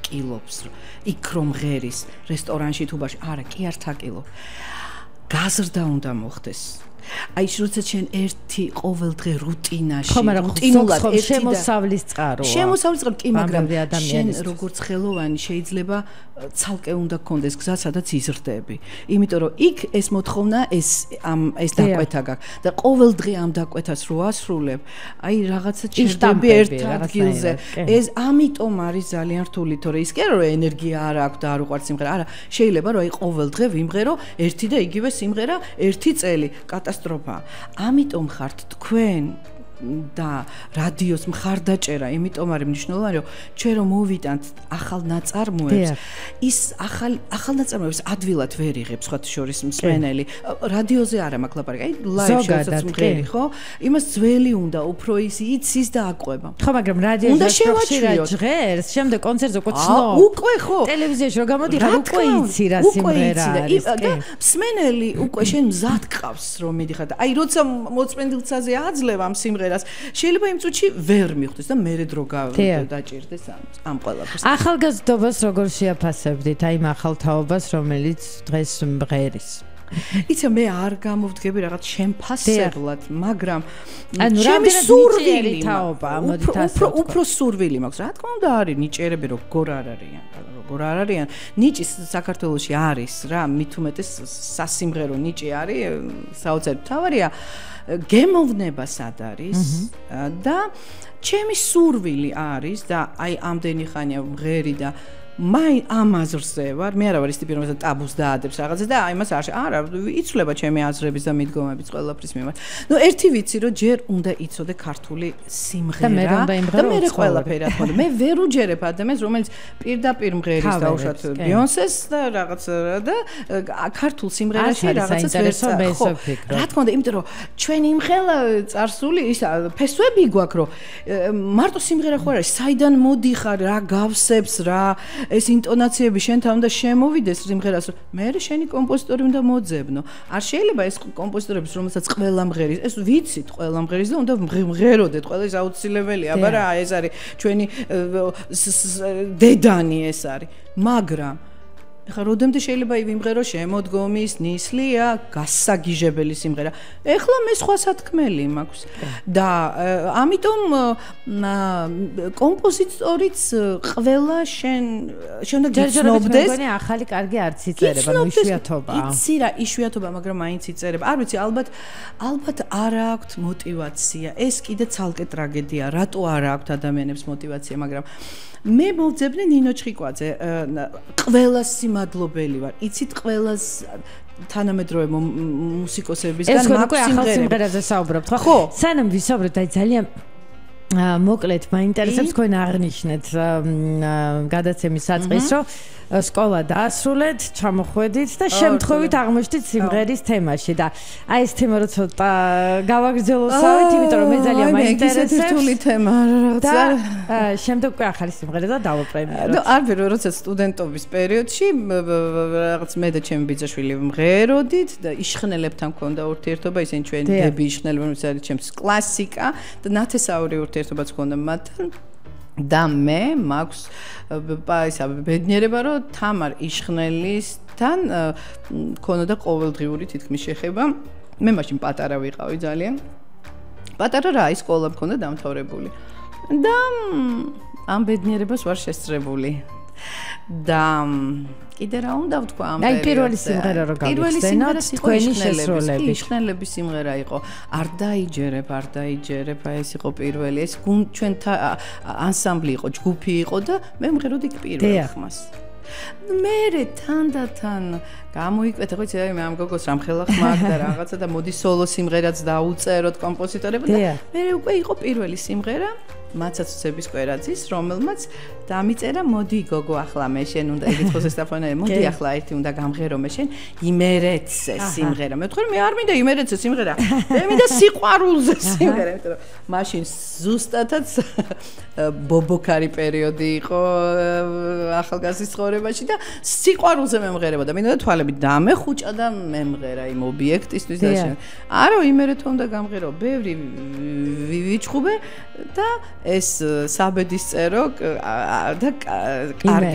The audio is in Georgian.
თაკილობს, იქ რომ ღერის რესტორანში თუ ბაში, არა, კი არ თაკილო. გაზრდა უნდა მოხდეს. აი როცა შენ ერთი ყოველდღე რუტინაში რუტინულად შემოსავლის წყაროა. შემოსავლის წყარო კი, მაგრამ შენ როგორც ხელოვანი შეიძლება ცალკე უნდა გქონდეს გზა, სადაც იზრდები. იმიტომ რომ იქ ეს მოთხოვნა ეს დაკვეთა გაქვს და ყოველდღე ამ დაკვეთას რო ასრულებ, აი რაღაცა ჭირდები ერთ ადგილზე. ეს ამიტომ არის ძალიან რთული, თორე ის კი არა რომ ენერგია არ აქვს და არ უყვარს სიმღერა, არა, შეიძლება რომ აი ყოველდღე ვიმღერო ერთი და იგივე სიმღერა ერთი წელი. კატასტროფა. ამიტომ ხართ თქვენ და რადიოს მხარდაჭერა, იმიტომ არის მნიშვნელოვანი, რომ ჩვენ რომ მოვიტანთ ახალ ნაწარმოებს, ის ახალ ნაწარმოებს ადვილად ვერ იღებს სხვათა შორის მსმენელი. რადიოზე არა მაქვს ლაპარაკი, აი ლაივში რასაც მღერი, ხო? იმას ძველი უნდა, უფრო იცის და აყვება. ხო, მაგრამ რადიოზე ხშირად ჟღერს, შემდეგ კონცერტზე უკვე ცნობ. უკვე ხო. ტელევიზიაში რო გამოდიხარ, უკვე იცი რა სიმღერა არის. და მსმენელი უკვე შენ მზად გყავს რომ მიდიხარ და აი როცა მოწმენდილცაზე აძლევ ამ სიმღერას შეიძლება იმ წუთში ვერ მიხვდეს და მერე დრო დაჭირდეს ამ ყველაფერს. ახალგაზრდობას როგორ შეაფასებდით აი ამ ახალ თაობას, რომელიც დღეს მღერის? იცი მე არ გამოვდგები რაღაც შემფასებლად, მაგრამ ჩემი სურვილი თაობა, ამოდით ასე უფრო სურვილი მაქვს. რა თქმა უნდა არის ნიჭიერები როგორ არ არიან. ნიჭი საქართველოში არის რა, მით უმეტეს სასიმღერო ნიჭი არის, საოცარი თავარია. გემოვნება სად არის და ჩემი სურვილი არის და აი ამდენი ხანია მღერი და ამაზრზე ვარ, მე არა ვარ ის ტიპი, რომელსაც ტაბუს დაადებს რაღაცა და აი მას არა, იცვლება ჩემი აზრების და მიდგომების ყველაფრის მიმართ. ნუ ერთი ვიცი, რომ ჯერ უნდა იცოდე ქართული სიმღერა და მე ყველაფერი რა თქმა უნდა. მე ვერ უჯერებ ადამიანს, რომელიც პირდაპირ მღერის დაუშვათ ბიონსეს და რაღაც და ქართულ სიმღერაში რაღაცას ვერ ხო. რა თქმა უნდა, იმიტომ რომ ჩვენი იმხელა წარსული ის ფესვები გვაქვს, რომ მარტო სიმღერა ხო არის, საიდან მოდიხარ, რა გავსებს, რა ეს ინტონაციები შენთან უნდა შემოვიდეს სიმღერას, მე შენი კომპოზიტორი უნდა მოძებნო. არ შეიძლება ეს კომპოზიტორების, რომელსაც ყველა მღერის, ეს ვიცით ყველა მღერის და უნდა მღეროდეთ, ყველა ის აუცილებელია, აბა რა, ეს არის ჩვენი დედანი ეს არის. მაგრამ ეხლა როდემდე შეიძლება ვიმღერო შემოდგომის ნისლია, გასაგიჟებელი სიმღერა. ეხლა მე სხვა სათქმელი მაქვს. და ამიტომ კომპოზიტორიც ყველა შენ უნდა გიცნობდეს. მეგონი ახალი კარგი არც იწერება, ნუ იშვიათობაა. იცი რა, იშვიათობა, მაგრამ მაინც იწერება. არ ვიცი, ალბათ არ აქვს мотиваცია. ეს კიდე ცალკე ტრაგედია. რატო არ აქვს ადამიანებს мотиваცია, მაგრამ მე მოვძებნე ნინო ჩხიკვაძე, ყველას სიმადლობელი ვარ. იცით ყველას თანამედროვე მუსიკოსებისგან მაქვს სიმღერებზე საუბრობთ, ხო? სანამ ვისაუბრებთ, აი ძალიან მოკლედ მაინტერესებს თქვენ აღნიშნეთ გადაცემის საწყის, რომ სკოლა დაასრულეთ, ჩამოხვედით და შემთხვევით აღმოჩნდით სიმღერის თემაში და აი ეს თემა რო ცოტა გავაგრძელოსავით, იმიტომ რომ მე ძალიან მაინტერესებს. ეს რთული თემა რაღაცა. და შემდეგ უკვე ახალი სიმღერა და დავაპრემიეროთ. და არ ვერო, როცა სტუდენტობის პერიოდში რაღაც მე და ჩემი ბიძაშვილი მღეროდით და იშხნელებთან მქონდა ურთიერთობა, ისინი ჩვენი დები იშხნელები, რომელიც არის ჩემთვის კლასიკა და ნათესაური ურთიერთობაც მქონდა მათთან. და მე მაქვს ისა ბედნიერება, რომ თამარ იშხნელისთან მქონოდა ყოველდღიური თითქმის შეხება. მე მაშინ პატარა ვიყავი ძალიან. პატარა რა, ის სკოლა მქონდა დამთავრებული. და ამ ბედნიერებას ვარ შესწრებული. და კიდე რა უნდა ვთქვა ამ პერიოდში? აი პირველი სიმღერა რო გავიხსენოთ, თქვენი შესრულები. იშხნელების სიმღერა იყო. არ დაიჯერებ, აი ეს იყო პირველი. ეს ჩვენთა ანსამბლი იყო, ჯგუფი იყო და მე მღეროდი პირველ ხმას. მერე თანდათან გამოიკვეთა, ხო იცი, მე ამ გოგოს რამ ხელა ხმა აქვს და რაღაცა და მოდი სოლო სიმღერაც დაუწეროთ კომპოზიტორებმა და მერე უკვე იყო პირველი სიმღერა მაცაცուցების კვერაძის, რომელმაც დამიწერა, მოდი გოგო, ახლა მე შენ უნდა ეკითხოს ეს ტელეფონი, მოდი ახლა ერთი უნდა გამღერო მე შენ იმერეთზე სიმღერა. მე ვთქვი, მე არ მინდა იმერეთზე სიმღერა, მე მინდა სიყვარულზე სიმღერა, იმიტომ რომ მაშინ ზუსტადაც ბობოქარი პერიოდი იყო ახალგაზრდის ცხოვრებაში და სიყვარულზე მემღერებოდა. მინდა თვალები დამეხუჭა და მემღერა იმ ობიექტისთვის და შენ. არა, იმერეთო უნდა გამღერო, ბევრი ვიჩხუბე და ეს საბედის წერო და კარგი